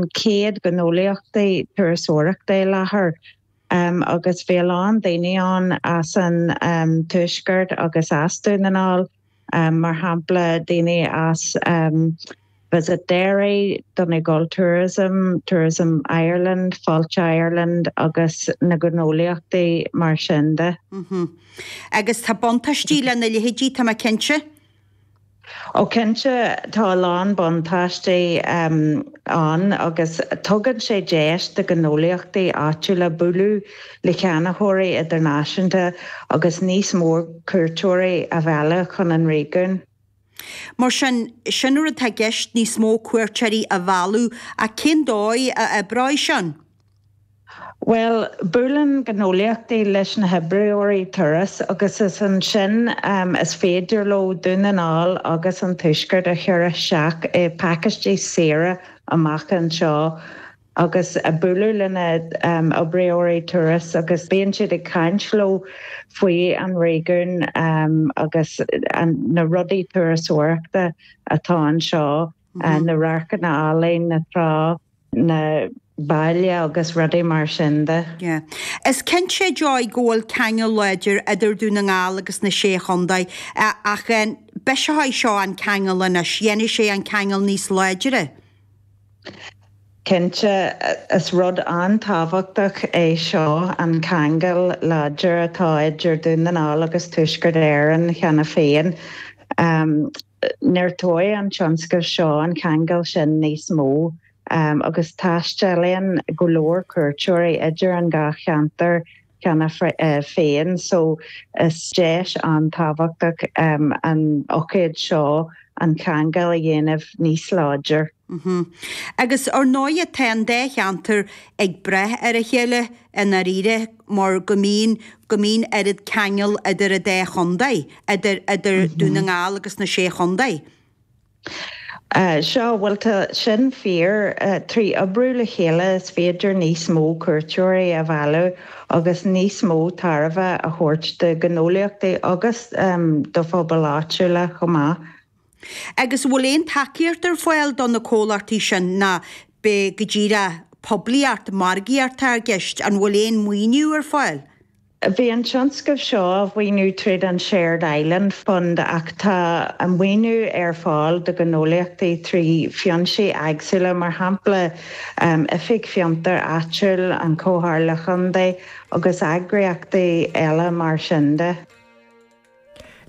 cionn 100 gnólaíochtaí turasóireachta i láthair agus bhí a lán daoine ann as an Tuaisceart agus as Dún na nGall, mar shampla daoine as Visit Derry, Donegal Tourism, Tourism Ireland, Fáilte Ireland agus na gnólaíochtaí mar sin de. Agus tá buntáistí lena leithéidí, tá mé cinnte. Ó cinnte, tá a lán buntáistí ann agus tugann sé deis do ghnólaíochtaí áitiúla bualadh le ceannaitheoirí idirnáisiúnta agus níos mó cuairteoirí a mhealladh chun an réigiúin. Mar sin, sin an rud atá i gceist, níos mó cuairteoirí a mhealladh, ach cén dóigh a oibreoidh sin? Bhuel, buaileann gnólaíochtaí leis na hoibreoirí turas agus is ansin is féidir leo Dún na nGall agus an Tuaisceart a chur isteach i bpacáistí saoire amach anseo agus bualadh le na oibreoirí turas agus bíonn siad ag caint leo faoi an réigiún agus na rudaí turasóireachta atá anseo, na radharcanna álainn, na trá. na baile agus rudaí mar sin de. Yeah. Is cinnte, Joy, go bhfuil ceangal láidir idir Dún na nGall agus na Sé Chontae ach an bhreiseoidh seo an ceangal anois, dhéanfaidh sé an ceangal níos láidre? Cinnte, is rud an-tábhachtach é seo, an ceangal láidir atá idir Dún na nGall agus Tuaisceart Éireann cheana féin. Neartóidh an tionscnamh seo an ceangal sin níos mó agus taistealaíonn go leor cuairteoirí idir an dá cheantar cheana féin so is deis an-tábhachtach an ócáid seo an ceangal a dhéanamh níos láidir. Agus ar ndóighe tá an dá cheantar ag brath ar a chéile i ndáiríre mar go mbíonn, go mbíonn oiread ceangal idir an dá chontae, idir, idir Dún na nGall agus na Sé Chontae. Sea, bhuel tá sin fíor. 3 oibriú le chéile is féidir níos mó cuairteoirí a mhealladh agus níos mó tairbhe a thabhairt do ghnólaíochtaí agus do phobail áitiúla chomh maith. Agus an bhfuil aon tacaíocht ar fáil do na comhlachtaí sin nó b'é go díreach poiblíocht, margaíocht atá i gceist? An bhfuil aon maoiniú ar fáil? Bhí an tionscnamh seo á mhaoiniú tríd an Shared Island Fund ach tá maoiniú ar fáil do ghnólaíochtaí trí fhoinsí eagsúla, mar shampla Oifig Fiontair Áitiúil, an Chomhairle Chontae agus eagraíochtaí eile mar sin de.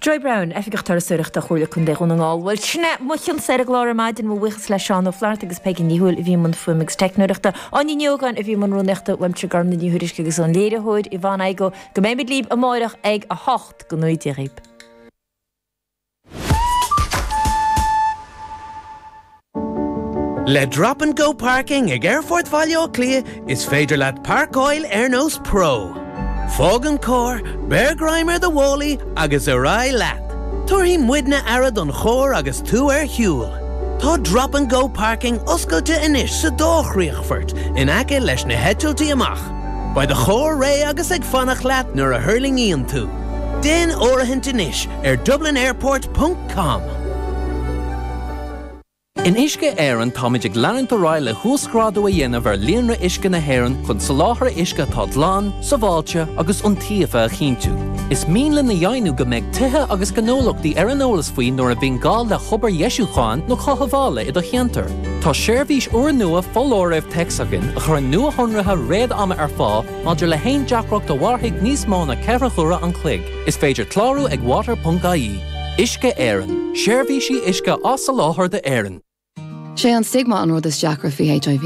Joy Browne, Oifigeach Turasóireachta Chomhairle Contae Dhún na nGall. Bhuel, sin é mo chionn-sa ar an gclár ar maidin. Mo bhuíochas le Seán Ó Flatharta agus Peigí Ní Thuathail a bhí i mbun fuaime agus teicneoireachta. Áine Ní Ógáin a bhí i mbun rúnaíochta, uaimse Gormfhlaith Ní Thuairisg agus ón léiritheoir Yvonne Igoe. Go mbeimid libh amáireach ag 8. Go ngnóthaí Dia dhaoibh. Le Drop and Go Parking ag Aerfort Bhaile Átha Cliath is féidir leat páirceáil ar nós pro. Fág an carr, beir greim ar do mhálaí agus ar aghaidh leat! Tabharfaidh muidne aire don charr agus tú ar shiúl. Tá Drop and Go Parking oscailte anois sa dá chríochfort in aice leis na heitiltí amach. Beidh do charr réidh agus ag fanacht leat nuair a thuirlingíonn tú. Déan áirithint anois ar dublinairport ponc com. In Uisce Éireann táimid ag leanúint ar aghaidh le huasghrádú a dhéanamh ar líonra uisce na hÉireann chun soláthar uisce atá glan, sábháilte agus iontaofa a chinntiú. Is mian linn a dheimhniú go mbeidh tithe agus gnólachtaí ar an eolas faoi nuair a bhíonn gá le hobair dheisiúcháin nó chothabhála i do cheantar. Tá seirbhís úrnua foláirimh téacs againn a chuireann nuashonruithe réad-ama ar fáil maidir le haon deacracht a mhairfidh níos mó ná 4 huaire an chloig. Is féidir clárú ag water.ie. Uisce Éireann, seirbhísí uisce á soláthar d'Éirinn. Sé an stigma an rud is deacra faoi HIV.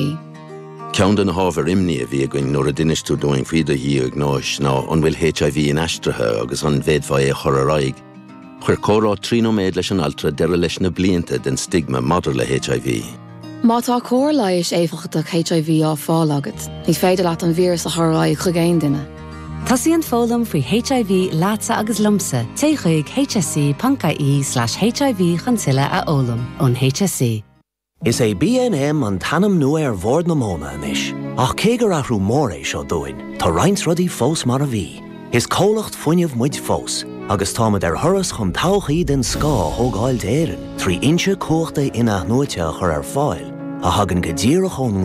Ceann de na hábhair imní a bhí againn nuair a d'inis tú dúinn faoi do dhiagnóis ná an bhfuil HIV inaistrithe agus an bhféadfá é a chur ar aghaidh. Chuir comhrá 3 nóiméad leis an altra deireadh leis na blianta den stigma maidir le HIV. Má tá cóir leighis éifeachtach HIV á fáil agat, ní féidir leat an víreas a chur ar aghaidh chuig aon duine. Tosaíonn foghlaim faoi HIV leatsa agus liomsa, téigh chuig hse.ie/hiv chun tuilleadh a fhoghlaim ón HSE. Is é BNM an t-ainm nua ar Bhord na Móna anois, ach cé gur athrú mór é seo dúinn, tá roinnt rudaí fós mar a bhí. Is comhlacht fuinnimh muid fós, agus táimid ar thuras chun todhchaí den scoth a thógáil d'Éirinn trí fhoinse cumhachta in-athnuaite a chur ar fáil a thagann go díreach ón ngrian.